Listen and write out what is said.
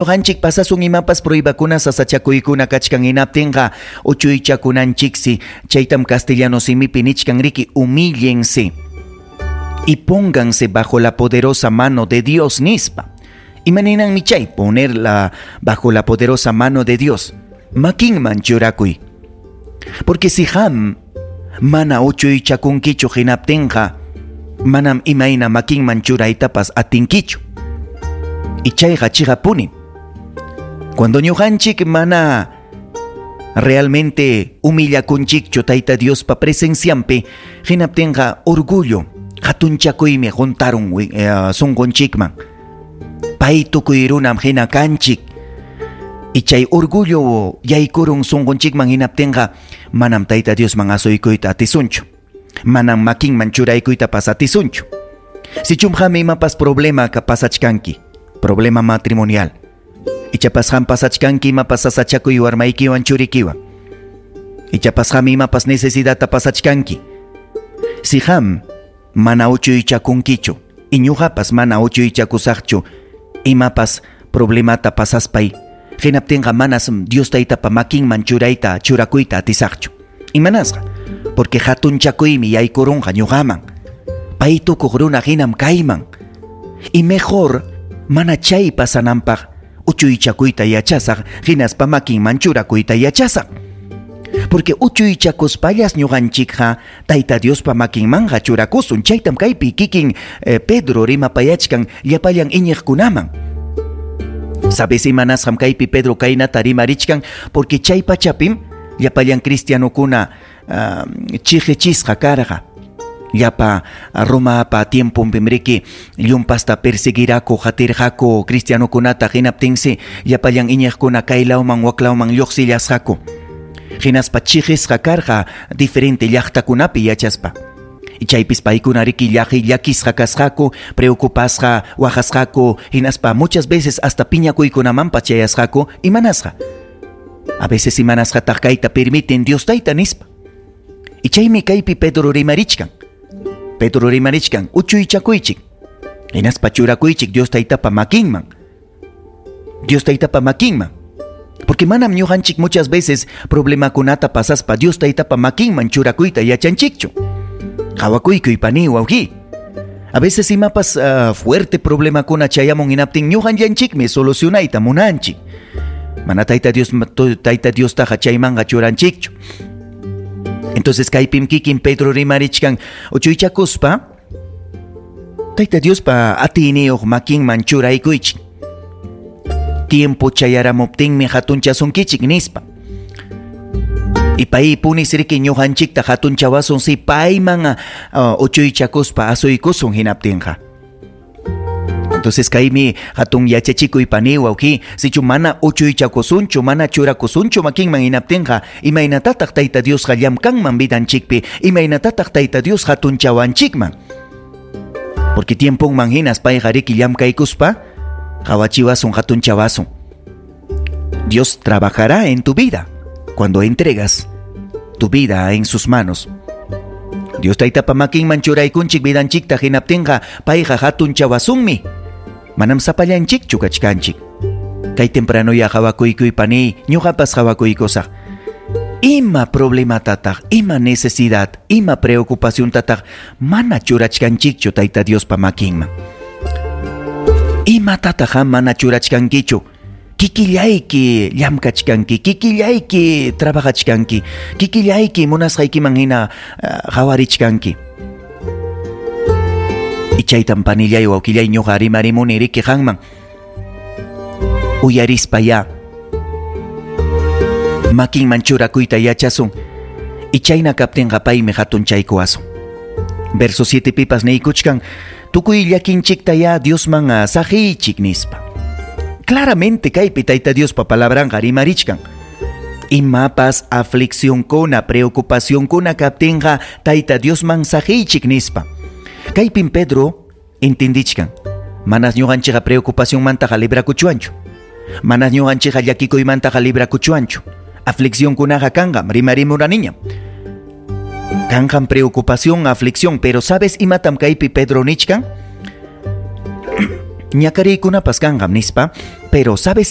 Ñuqanchik pasasun imapas pruebakuna sasachakuykuna kachkan hinaptinqa uchuychakunanchiksi, chaytam castellano simipi nichkan riki humíllense y pónganse bajo la poderosa mano de Dios nispa. Imaninanmi chay ponerla bajo la poderosa mano de Dios? Makinman churakuy. Porque si qam mana uchuychakunkichu hinaptinqa manam imayna makinman churaytapas atinkichu. Y chayqa chiqapuni. Cuando ñuqanchik mana realmente humillakunchikchu Tayta Diospa presencianpi, hinaptinqa orgullo, hatunchakuymi juntarun sunqunchikman. Pay tukuy runam hina kanchik. Y chay orgullo yaykurun sunqunchikman hinaptinqa manam Tayta Diosman asuykuyta atisunchu. Manam makinman churaykuytapas atisunchu. Sichum qam imapas problema ka pasachkanki, problema matrimonial. Ichapas qam pasachkanki imapas sasachakuy warmaykiwan churikiwan. Ichapas qam imapas necesidadta pasachkanki. Si qam mana uchuychakunkichu, y ñuqapas mana uchuychakusaqchu, imapas problemata pasaspay, hinaptinqa manas Dios Taytapa makinman churayta churakuyta atisaqchu. Imanasqa? Porque hatunchakuymi yaykurunqa ñuqaman. Pay tukuq runa hinam kayman. Y mejor mana chay pasananpaq uchuychakuyta yachasaq, hinaspa makinman churakuyta yachasaq. Porque uchuychakuspallas ñuqanchikqa Tayta Diospa makinmanqa churakusun. Chaytam kaypi kikin Pedro rimapayachkan llapallan iñiqkunaman. ¿Sabes imanasqam kaypi Pedro kaynata rimarichkan? Porque chay pachapim llapallan cristianokuna chiqichisqa karqa. Llapa Romapa tiemponpim riki llumpasta perseguiraku qatirqaku cristianokunata, hinaptinsi llapallan iñiqkuna kaylawman waklawman lluqsillasqaku. Hinaspa chiqisqa karqa diferente llaqtakunapi yachaspa. Y chaypis paykuna riki llakisqa kasqaku, preocupasqa, waqasqaku, hinaspa muchas veces hasta piñakuykunamanpas chayasqaku, imanasqa. A veces imanasqataq kayta permiten Dios Tayta nispa. Y chaymi kaypi Pedro rimarichkan. Pedro rimarichkan, uchuychakuychik. Hinaspa churakuychik Dios Taytapa makinman. Dios Taytapa makinman. Porque manam ñuqanchik muchas veces problemakunata pasaspa Dios Taytapa makinman churakuyta yachanchikchu. Qhawakuykuy pani wawqi. A veces imapas fuerte problemakuna chayamun hinaptin ñuqanllanchikmi solucionayta munanchik. Mana Tayta Dios Tayta Diostaqa chaymanqa churanchikchu. Entonces kaypim kikin Pedro rimarichkan uchuychakuspa Tayta Diospa atiyniyuq makinman churaykuychik. Tiempo chayaramuptinmi hatunchasunkichik nispa. Y paypunis riki ñuqanchikta hatunchawasun si payman uchuychakuspa asuykusun hinaptinqa. Entonces kaymi hatun yachachikuy pani wawqi, sichu mana uchuychakusunchu, mana churakusunchu makinman hinaptinqa, imaynatataq Tayta Diosqa llamkanman vidanchikpi, imaynatataq Tayta Dios hatunchawanchikman. Porque tiemponman hinas payqa riki llamkaykuspa qawachiwasun hatunchawasun. Dios trabajará en tu vida cuando entregas tu vida en sus manos. Dios Taytapa makinman churaykunchik vidanchikta hinaptinqa payqa hatunchawasunmi. Manam sapallanchikchu kachkanchik. Kay temprano ya qhawakuykuy pani, ñuqapas qhawakuykusaq. Ima problematataq, ima necesidad, ima preocupaciontataq mana churachkanchikchu Tayta Diospa makinman. Imatataq mana churachkankichu? Kikillayki llamkachkanki, kikillayki trabajachkanki, kikillayki munasqaykiman hina qhawarichkanki. Y chaytam panillay wawqillay ñuqa rimarimuni riki qanman. Uyarispa ya makinman churakuyta yachasun. Y chayna kaptinqa paymi hatunchaykuwasun. Verso 7 pipas niykuchkan, tukuy llakinchikta ya Diosman saqiychik nispa. Claramente kaypi Tayta Diospa palabranqa rimarichkan. Imapas afliccionkuna, preocupacionkuna kaptinqa Tayta Diosman saqiychik nispa. Kaypim Pedro entendichkan. Manas ñuqanchikqa preocupacionmantaqa librakuchuanchu. Manas ñuqanchikqa llakikuymantaqa librakuchuanchu. Afliccionkunaqa kanqam, rimarimuraniñam. Kanqam preocupación, aflicción, pero ¿sabes imatam kaypi Pedro nichkan? Ñakariykunapas kanqam nispa. Pero, ¿sabes?